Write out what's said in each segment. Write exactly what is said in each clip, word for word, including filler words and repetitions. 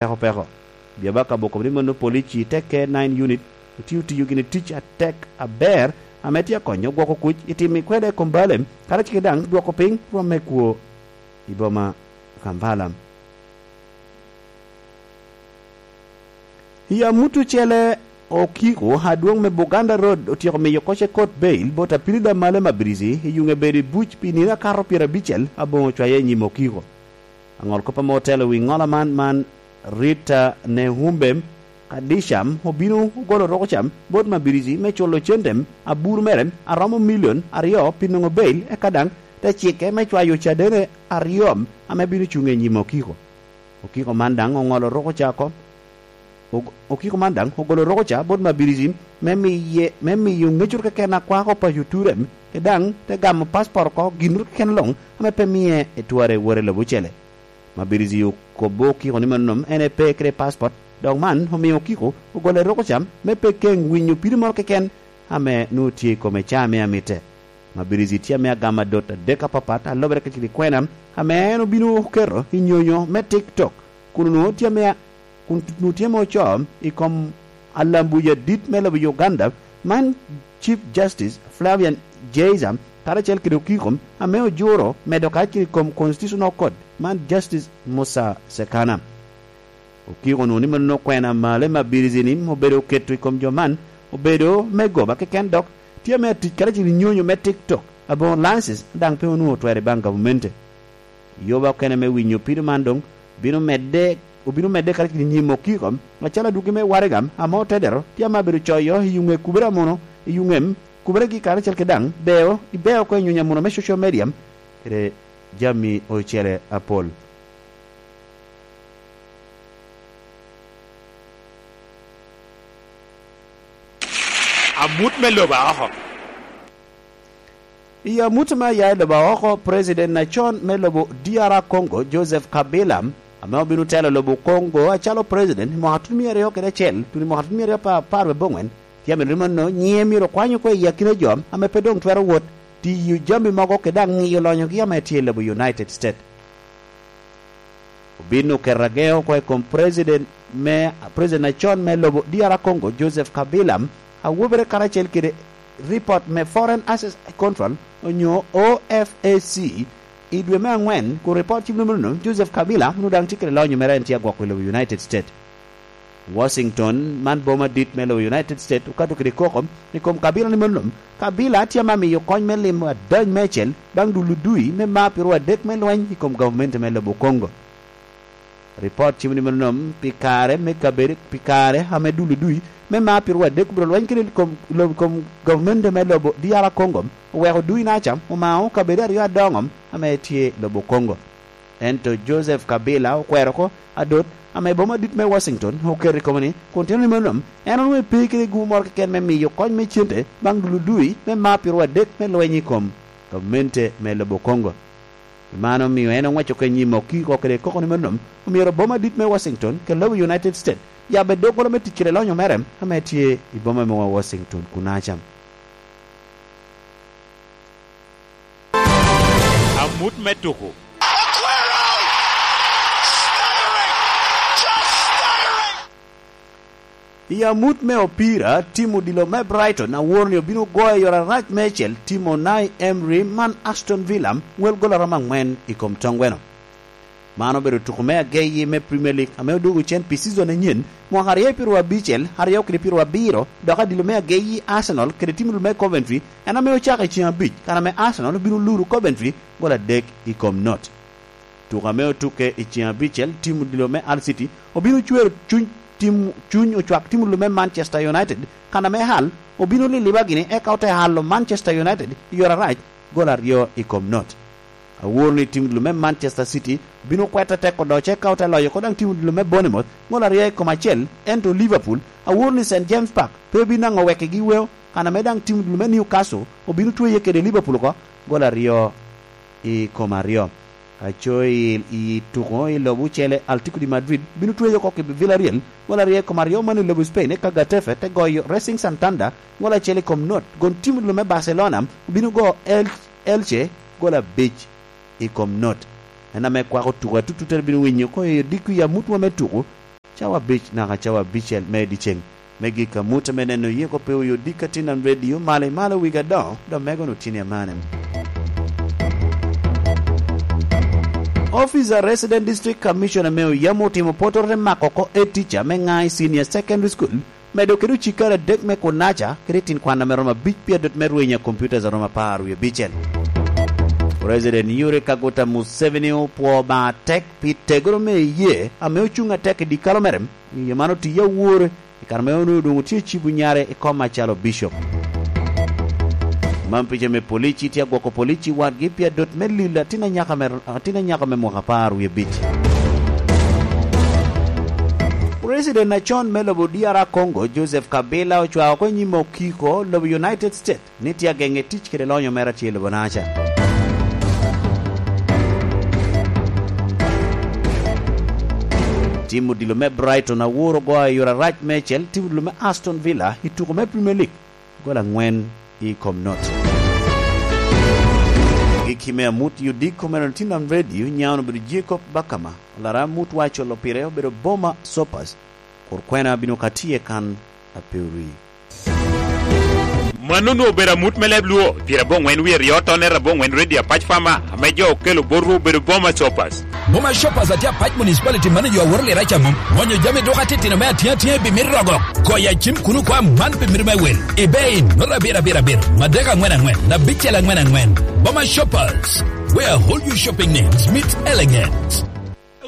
peko peko. Biabaka boko ni mano polici te K nine unit otio tiyo gini tic atek aber ame tye akonyo gwoko kuc i timo ikwede i kom bale, karacel ki daŋ dwoko piny rwom me kwo i boma Kampala. I amut ocele, Okiko adwoŋ me Buganda Road otyeko miyo koce kot bail bot apili Lamale Mabirizi i yuŋe bedo i buc pi nino akato pyerabicel aboŋo cwaye i nyim Okiko. Aŋol kop ame otelo wi ŋola man, man Rita Nehumbe Kadisham obino ogolo roko cam bot Mabirizi me culo cente abur mere aromo milion aryo pi nwoŋo bail, eka daŋ te cikke me cwayo cadene aryo ame bino cuŋ i nyim Okiko. Okiko man daŋ oŋolo roko ca oko. Og-, Okiko man daŋ ogolo roko ca bot Mabirizi me miye, me miyo ŋecoro keken a kwako paco ture, ke daŋ te gamo paspot oko, ginnoro keken luŋ ame pe mie etware wot i lobo ocele. Mabirizi okobbo Okiko ni mano en pe kede paspot, dok man omiyo Okiko ogolo roko ca me pe keŋ winyo pido moro keken ame nwoŋo tye i kome ca ame amitte. Mabirizi tye ame agamo adot adek apapat a lobere kede kwena ame en obino oketo i nyonyo me TikTok, kun onwoŋo tye ame a-, kun onwoŋo tye ame ocoo i kom alambuja adit me lobo Uganda, man Chief Justice Flavian Jaiza karacel kede Okiko ame ojuro medo kacel i kom Constitutional Court, man Justice Musa Sekana. Okiko onwoŋo ni mano kwena male Mabirizi ni obedo oketo i kom jo man obedo me goba keken, dok tye ame atic karacel i nyonyo me TikTok aboŋo license daŋ pe onwoŋo otwero i baŋ gavumenti. Yoba okene me winyo pido man doŋ bino medde, obino medde karacel i nyim Okiko, acalo adwogi me waraga ame otedero tye ame abedo coyo i yuŋe kubere amono, i yuŋem kuberegi karacel kede daŋ beo, i beo oko i nyonyo amono me social media kede jami ocele apol. Amut me lobo aoko. I amut me aya i lobo aoko, President acon me lobo D R Congo, Joseph Kabila, ame obino telo lobo Congo acalo President i mwaka tutumia aryo kede acel, tutumia mwaka tutumia aryo apar, apar wie abongwen, tye ame mano nyiŋe myero okwany oko i akina jo ame pe doŋ twero wot tiyo jami mogo kede daŋ ŋiyo lonyogi ame tye i lobo United States. Obin oketo ageŋo oko i kom President me, President acon me lobo D R Congo, Joseph Kabila, a wobere karacel kede ripot me Foreign Assets Control, onyo O F A C, i dwe me angwen, kun ripot cim nono, Joseph Kabila onwoŋo daŋ tye kede lonyo mere en tye agwoko i lobo United States. Washington, man boma dit me lobo United States, okato kede koko i kom Kabila ni mano, Kabila tye ame amiyo kony me limo adany meicel baŋ dul odui me mar pyeraryo adek me lweny i kom gavumenti me lobo Congo. Ripot cimo ni mano, pi kare me kabedo, pi kare ame dul odui me mar pyeraryo adek obito lweny kede kom, lo-, kom gavumenti me lobo D R Congo, oweko dui naca omao kabedo aryo adoŋo ame tye lobo Congo. Ento Joseph Kabila okwero oko adot ame boma dit me Washington oketo i kome ni, kun tino ni mano, en onwoŋo pe kede gumo moro keken me miyo kony me cente baŋ dul odui me mar pyeraryo adek me lweny i kom gamente me lobo Congo. Pi mano omio en oŋweco ka i nyim Okiko kede koko ni mano, omyero boma dit me Washington kede lobo United States yabbe doggola me tic kede lonyo mere ame tye i boma me Washington kunaca. Amut me tuko. I amut me opira, tim odilo me Brighton awor ni obino goyo yore arac meicel tim Unai Emery man Aston Villa wel gol aromo angwen i kom toŋ gweno. Man obedo tuko me ageyi me Premier League ame odwogo cen pi season anyen, mwaka aryo pyeraryo abicel, aryo kede pyeraryo abiro, dok adilo me ageyi Arsenal kede tim odilo me Coventry en ame ocako i ceng abic, kan ame Arsenal obino luro Coventry gol adek i kom not. Tuko ame otukke i ceng abicel, tim odilo me Hull City obino cwero cuny tim, cuny ocwak tim odilo me Manchester United, kan ame Hull obino liliba gini eka ote halo Manchester United i yore arac gol aryo i kom not. Awor ni tim odilo me Manchester City bino kwete tek odoc eka ote loyo oko daŋ tim odilo me Bournemouth gol aryo i kom acel, ento Liverpool awor ni Saint James Park pe bino naŋo wekigi weo, kan ame daŋ tim odilo me Newcastle obino tweye kede Liverpool oko gol aryo i kom aryo. Aco i, i tuko i lobo ocele, Atletico de Madrid bino tweyo oko ki Villarreal gol aryo i kom aryo man i lobo Spain, eka Getafe te goyo Racing Santander gol acel i kom not, gon tim odilo me Barcelona obino go El-, Elche gol abic i kom not. En ame kwako tuko atututtere bino winyo ko i odiko i amutwa me tuko cawa abic naka cawa abicel me dyeceŋ. Me gik amut ame neno yeko pe oyo dikka tin an redio malo i malo wigi adoŋo, dok mego no tin i amane. Office a Resident District Commissioner me Oyamo otimo potoro te mako oko etica me ŋa i Senior Secondary School, medo kede ocikere adek me Kunaca kede tin kwan ame romo abic pi adot me rweny a computers a romo apar wie abicel. President Yoweri Kaguta Museveni opwoo Obaŋa atek pi tegoro me iyee ame ocuŋ atek i dikalo mere. Iyee man otiye awore i kare ame onwoŋo doŋ otye ecibo nyare i kom acalo bicop. Man pica me polici tye agwoko polici wadgi pi adot me lilo atin anyaka me, atin anyaka me mwaka apar wie abic. President acon me lobo D R Congo, Joseph Kabila, ocwao oko i nyim okiko lobo United States ni tye ageŋe tic kede lonyo mere atye i lobo Naca. Tim odilo me Brighton awor ogoyo i yore arac meicel tim odilo me Aston Villa i tuko me Premier League gol angwen i kom not. Gikki me amut i odiko mere tin am redio nyaŋ obedo Jacob Bakama, olara amut wa acolo pire obedo Boma Sopas, kur kwena bino ka tye kan ape ori. Mano onwoŋo obedo amut me leb Luo, pire aboŋwen wie ryo tonere aboŋwen redio Apac Fama, ame jo okelo botwu obedo Boma Shoppers. Boma Shoppers atye Apac Municipality mano jo aworo lira ca mom. Mwonyo jami duka titino me atyeŋ atyeŋ pi mit rogo. Goyo acim kuno kwa man pi mit me wel. Ibe in, nota abiro abiro abiro, madek angwen angwen, abicel angwen angwen. Boma Shoppers, where whole you shopping needs meet elegance.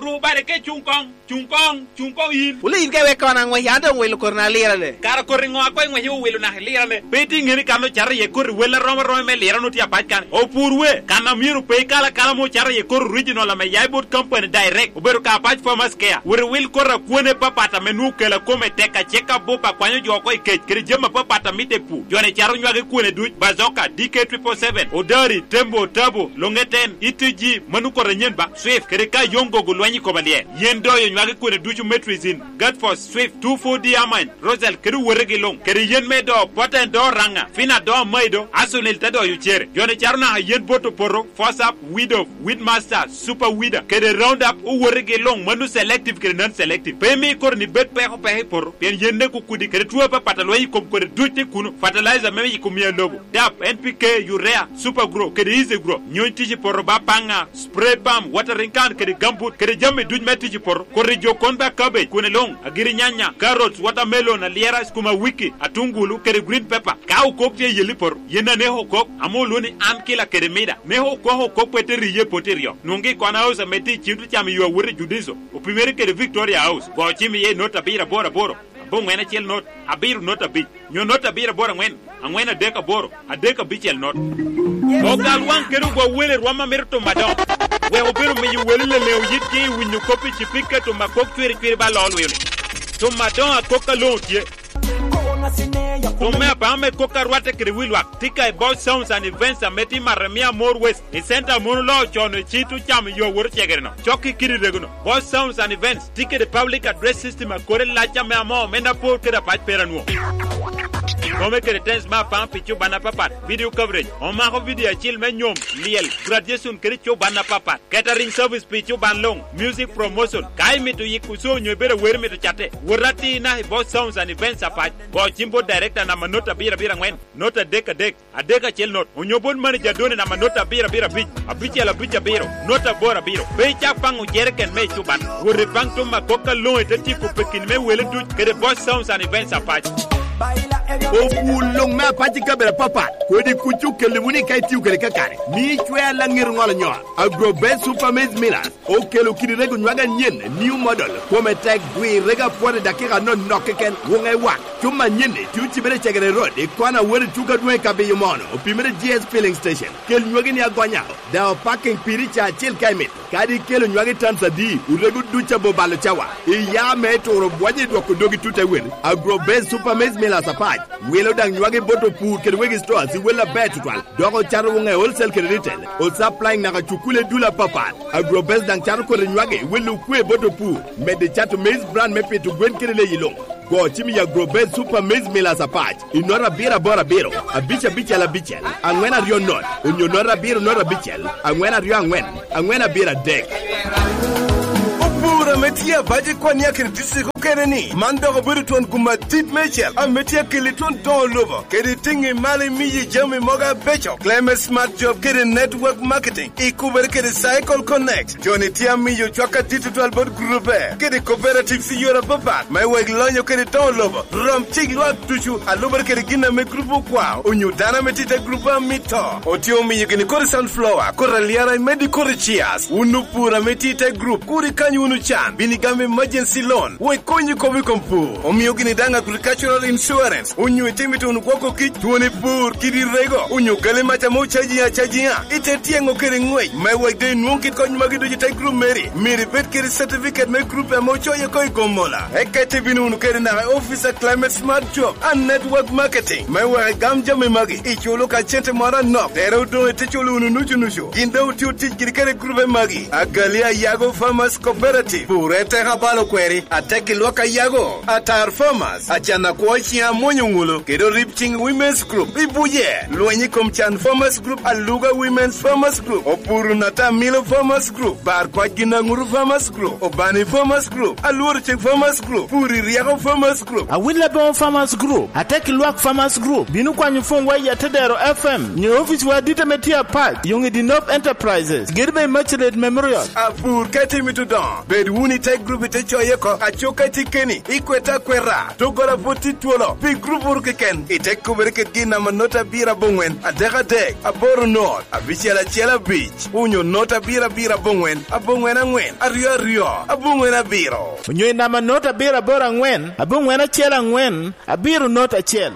Ru bade ke cuŋ koŋ, cuŋ koŋ, cuŋ koŋ yin. Wule yin ka iwek kono aŋwec, an doŋ wilo koti na lirane. Kara koti ŋo a koŋ iŋwec iwilo naka ilirane? Pe itye ŋeni kan ocato iye koti wel arom aromi me lirane otye Apac kan. Opur we, kan a myero pe ikal akala mo ocato iye koti original ame ya i bot company direct, obedo ka Apac Farmers Care. Wot iwil koti akwone papat ame nwoŋo kela kome tek acek abup akwanyo jo oko i kec, kede jami apapat a mitte i pur. Jo-ni cato nywagi kwone duc, Bazoka, D K triple seven, Odari, Tembo, Tabo, Longeten, E T G, mano koti anyen ba, Swift, kede ka yoŋ gogo lweny i koma lye. Yen doyo nywagi kwene ducu Metrizin, Gatfos, Swift, two four D Amine, Rosel, kede owotegi luŋ, kede yen me do Poten do Raŋa, Fina do Amaido, Asonil te doyo cere. Jo-ni cato naka yen bot opoto, Fosap, Widow, Weedmaster, Super Weeder, kede Roundup, owotegi luŋ, mano selective kede non selective. Pe imi koti ni bed peko peko i poto, pien yen nek okudi, kede two apapat a lweny i kom koti duc tye kuno, fertilizer me yiko mia lobo, dap, N P K, urea, Super Grow, kede Easy Grow. Nyony tic i poto ba paŋa, spray pump, watering can, kede gambut, kede jami duc me tic i poto. Koti jo kon ba cabbage, kwene luŋ, agiri nyanya, carrots, watermelon, alyera, skuma wiki, atungulu, kede green pepper. Ka okok tye i yel i poto, yen aneko okok, ame olwoŋo ni an kila kede mida. Neko okok okok pe te riye i poto iryo. Nwoŋgi i Corner House ame tye i cim tucam i yo awot i Judiso, opimere kede Victoria House. Go cim iye i not abiro aboro aboro, aboŋwen acel not, abiro not abic, nyo not abiro aboro aŋwen, aŋwen adek aboro, adek abicel not. Ogal waŋ kede ogwa wele rwom a mito tum adoŋo. Wek obed omiyo wele leleŋo yitgi i winyo kop i cipika tum akok cwiri cwiri ba loo lweo-ni. Tum adoŋo akok a loŋo tye. Tum me apaŋo me kok a rwatte kede wi lwak tye ka i Boss Sounds and Events ame tye i Maremia More West, i center a mon oloo con i cit ocamo yo awot ocegere-no. Cok i kidi rego-no. Boss Sounds and Events tye kede public address system a kore lac ame amoo omenda apor kede apac pera nwo. Kome kede tens me apaŋ pi cuban apapat, video coverage, omako video acil me nyom, lyel, graduation kede cuban apapat, catering service pi cuban luŋ, music promotion. Ka imito yiko show onyo ibedo awero imito catte, wot atir naka i Boss Sounds and Events Apac. Go cim bot director namba not abiro abiro aŋwen, not adek adek, adek acel not, onyo bot manager Doni namba not abiro abiro abic, abicel abic abiro, not aboro abiro. Pe icak paŋo jereken me ecuban. Wot ipaŋ tum akok aloŋo ite tyeko pekini me wele duc kede Boss Sounds and Events Apac. Opwul luŋ me Apac i kabedo apapat, kodi kuc okelli wunu i ka itio kede kakare. Mi icwe alaŋet oŋolo nyol. Agrobest Super Maize Millers okelo kidi rego nywage anyen, new model, kome tek, dwi rego apwot i dakika anonok keken, wuŋe wak. Cuma anyen-ni tye ocibere i Cegere Road, i kona awot i tuko adwoŋ i Kabiyo Mono, opimere G S Filling Station. Kel nywagi ni agonya, daŋ opaking piri ca acel ka imito. Kadi ikelo nywagi tans adi, orego duc abo balo cawa. Iya me turo bwonyo i dwoko dogi tut te wel. Agrobest Super Maize Millers Apac wilo daŋ nywagi bot opur kede wegi stores i wel aber tutwal. Dok ocato wuŋe wholesale kede retail. Osupplying naka cukule dul apapat. Agrobest daŋ cato kodi nywagi i wel okwe bot opur. Medde cato maize bran me pito gwen kede leyi luŋ. Go cim i Agrobest Super Maize Millers Apac i nota abiro aboro abiro, abic abicel abicel, aŋwen aryo not, onyo nota abiro nota abicel, aŋwen aryo aŋwen, aŋwen abiro adek. Opur Ame tye abac i kwan i akina district okene ni, man dok obedo twon gum adit meicel ame tye akeli twon doŋo lobo, kede tiŋi malo imiyo jami mogo abeco. Climate Smart Job kede Network Marketing, ikubere kede Cycle Connect. Joni tye amiyo cwak adit tutwal bot grupe kede cooperatives i yore apapat, me wek lonyo kede doŋo lobo rom cik lwak ducu, alubere kede gin ame grup okwao, onyo dano ame tye i te grup amito. Otye omiyo gini kodi sunflower, kodi alyara, imedde kodi chias. Wun opur ame tye i te grup, kur ikany wunu can, bino igamo emergency loan, wek konyi kop i kom pur. Omio gini daŋ agricultural insurance, onyo itimo ituno gwoko kic, twoni pur, kidi rego, onyo gali mac ame ocaji acajiŋa, ite tyeŋo kede ŋwec, me wek doŋ inwoŋ kit kony magi ducu i te grup meri. Myero ibed kede certificate me grup ame ocoyo oko i Gomola. Eka ite bino wunu kede naka i office a Climate Smart Job and Network Marketing, me wek igam jami magi, iculo ka cente moro anok, tere odoŋ ite culo wunu nucu nucu. Gin doŋ otye otic kede kede grupe magi, Agali Ayago Farmers Cooperative, Pur Eteka Balo Kweri, Atek i Lwak Ayago, Atar Farmers, Acan Akwo Ciŋ Amwonyo Ŋulo, kede Orib Ciŋ Women's Group. Ibuje, Lweny i Kom Can Farmers Group, Aluga Women's Farmers Group, Opuru Nata Milo Farmers Group, Bar Kwac Gin Aŋuru Farmers Group, Obani Farmers Group, Alworo Cik Farmers Group, Puri Ryeko Farmers Group, Awil Aboŋo Farmers Group, Atek i Lwak Farmers Group. Bino kwanyo pwonywa i Atedero F M, nyo oficewa adit ame tye apac, Yoŋ i Dinop Enterprises, kede bene Immaculate Memorial. Apur ka itimo itudoŋo, bed wunu i te grup ite coye oko, acuk ka itye keni, ikwete akweta, doggola pwod tye twolo, pi grup wunu keken, ite kubere kede gin namba not abiro aboŋwen, adek adek, aboro not, abicel acel abic, onyo not abiro abiro aboŋwen, aboŋwen aŋwen, aryo aryo, aboŋwen abiro. Onyo i namba not abiro aboro aŋwen, aboŋwen acel aŋwen, abiro not acel.